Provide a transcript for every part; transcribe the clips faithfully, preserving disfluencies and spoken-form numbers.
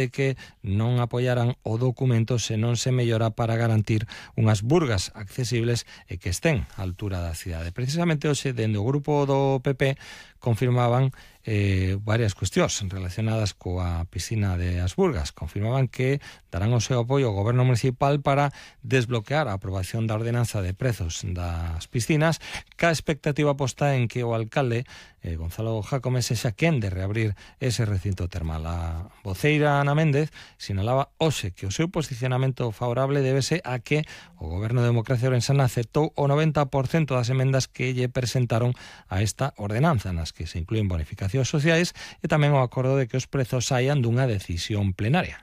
de que non apoiaran o documento se non se mellora para garantir unhas burgas accesibles e que estén á altura da cidade. Precisamente hoxe, dende o grupo do P P, confirmaban eh, varias cuestións relacionadas coa piscina de As Burgas. Confirmaban que darán o seu apoio ao goberno municipal para desbloquear a aprobación da ordenanza de prezos das piscinas, ca expectativa posta en que o alcalde eh, Gonzalo Jácome sexa quen de reabrir ese recinto termal. A voceira Ana Méndez sinalaba hoxe que o seu posicionamento favorable débese a que o goberno de Democracia Ourensana aceptou o noventa por cento das emendas que lle presentaron a esta ordenanza, nas que se inclúen bonificacións sociais e tamén o acordo de que os prezos saian dunha decisión plenaria.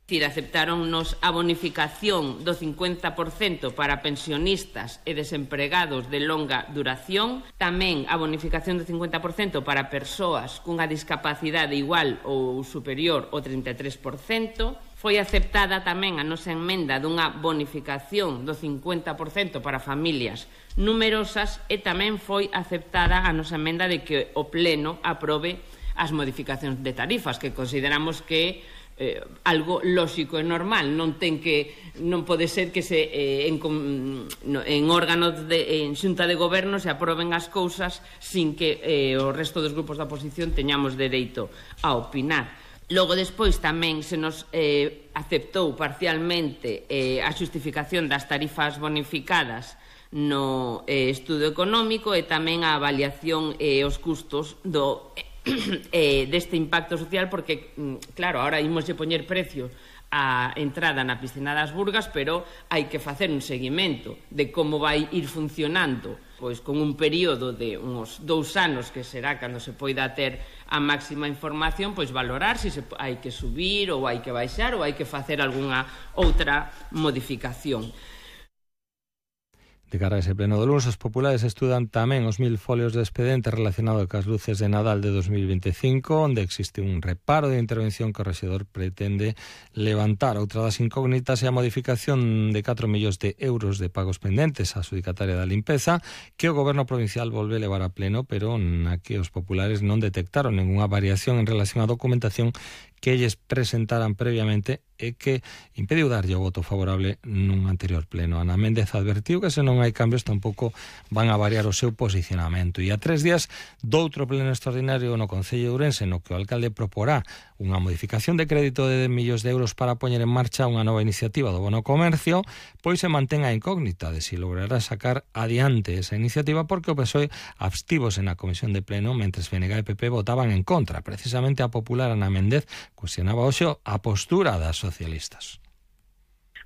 Dicir, aceptáronnos a bonificación do cincuenta por cento para pensionistas e desempregados de longa duración, tamén a bonificación do cincuenta por cento para persoas cunha discapacidade igual ou superior ao trinta e tres por cento, foi aceptada tamén a nosa emenda dunha bonificación do cincuenta por cento para familias numerosas e tamén foi aceptada a nosa emenda de que o Pleno aprobe as modificacións de tarifas, que consideramos que Eh, algo lóxico e normal, non ten que non pode ser que se eh, en, no, en órganos de, en xunta de goberno se aproben as cousas sin que eh, o resto dos grupos da oposición teñamos dereito a opinar. Logo despois tamén se nos eh, aceptou parcialmente eh, a xustificación das tarifas bonificadas no eh, estudo económico e tamén a avaliación e eh, os custos do eh, deste impacto social, porque, claro, ahora imoslle poñer precio a entrada na piscina das Burgas, pero hai que facer un seguimento de como vai ir funcionando, pois con un período de uns dous anos, que será cando se poida ter a máxima información, pois valorar se hai que subir ou hai que baixar ou hai que facer algunha outra modificación. De cara a ese pleno do luns, os populares estudan tamén os mil folios de expediente relacionado cas luces de Nadal de dos mil vinte e cinco, onde existe un reparo de intervención que o rexedor pretende levantar. Outra das incógnitas é a modificación de catro millóns de euros de pagos pendentes á adxudicataria da limpeza, que o goberno provincial volve levar a pleno, pero na que os populares non detectaron ningunha variación en relación á documentación que elles presentaran previamente e que impediu darlle o voto favorable nun anterior pleno. Ana Méndez advertiu que se non hai cambios tampouco van a variar o seu posicionamento. E a tres días doutro pleno extraordinario no Concello de Ourense, no que o alcalde proporá unha modificación de crédito de dez millóns de euros para poñer en marcha unha nova iniciativa do bono comercio, pois se mantén a incógnita de si logrará sacar adiante esa iniciativa, porque o P S O E abstívose na comisión de pleno, mentres P N G e P P votaban en contra. Precisamente a popular Ana Méndez cuestionaba hoxe a postura das socialistas.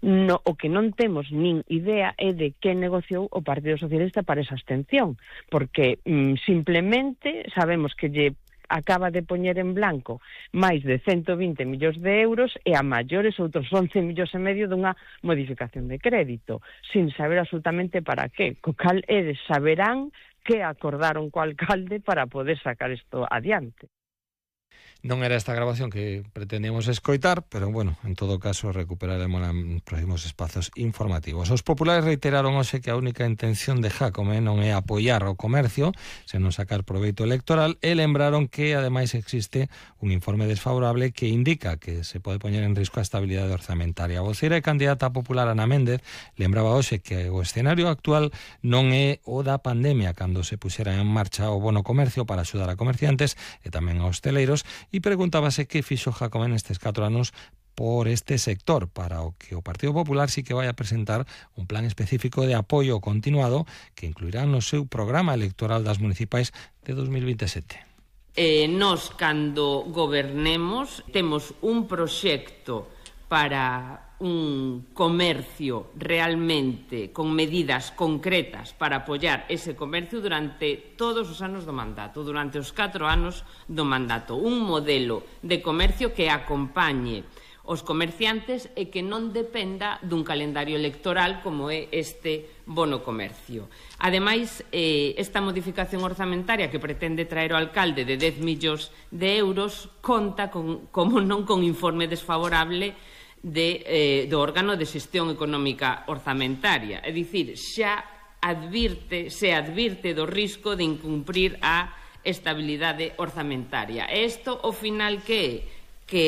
No, o que non temos nin idea é de que negociou o Partido Socialista para esa abstención, porque mm, simplemente sabemos que lle acaba de poñer en blanco máis de ciento vinte millóns de euros e a maiores outros once millóns e medio dunha modificación de crédito, sin saber absolutamente para qué. Co cal eles saberán que acordaron co alcalde para poder sacar isto adiante. Non era esta grabación que pretendíamos escoitar, pero, bueno, en todo caso recuperaremos en próximos espazos informativos. Os populares reiteraron hoxe que a única intención de Jácome non é apoiar o comercio, senón sacar proveito electoral, e lembraron que, ademais, existe un informe desfavorable que indica que se pode poñer en risco a estabilidade orzamentaria. A voceira e candidata popular Ana Méndez lembraba hoxe que o escenario actual non é o da pandemia, cando se puxera en marcha o bono comercio para axudar a comerciantes e tamén a hosteleiros, e preguntábase que fixo Jácome nestes catro anos por este sector, para o que o Partido Popular sí que vai a presentar un plan específico de apoio continuado que incluirá no seu programa electoral das municipais de dos mil vinte e sete. Eh, nos, cando gobernemos, temos un proxecto para un comercio realmente con medidas concretas para apoiar ese comercio durante todos os anos do mandato, durante os catro anos do mandato. Un modelo de comercio que acompañe os comerciantes e que non dependa dun calendario electoral como é este bono comercio. Ademais, eh, esta modificación orzamentaria que pretende traer o alcalde de dez millóns de euros conta con, como non con informe desfavorable De, eh, do órgano de xestión económica orzamentaria. É dicir, xa advirte, se advirte do risco de incumprir a estabilidade orzamentaria. E isto, ao final, que é? Que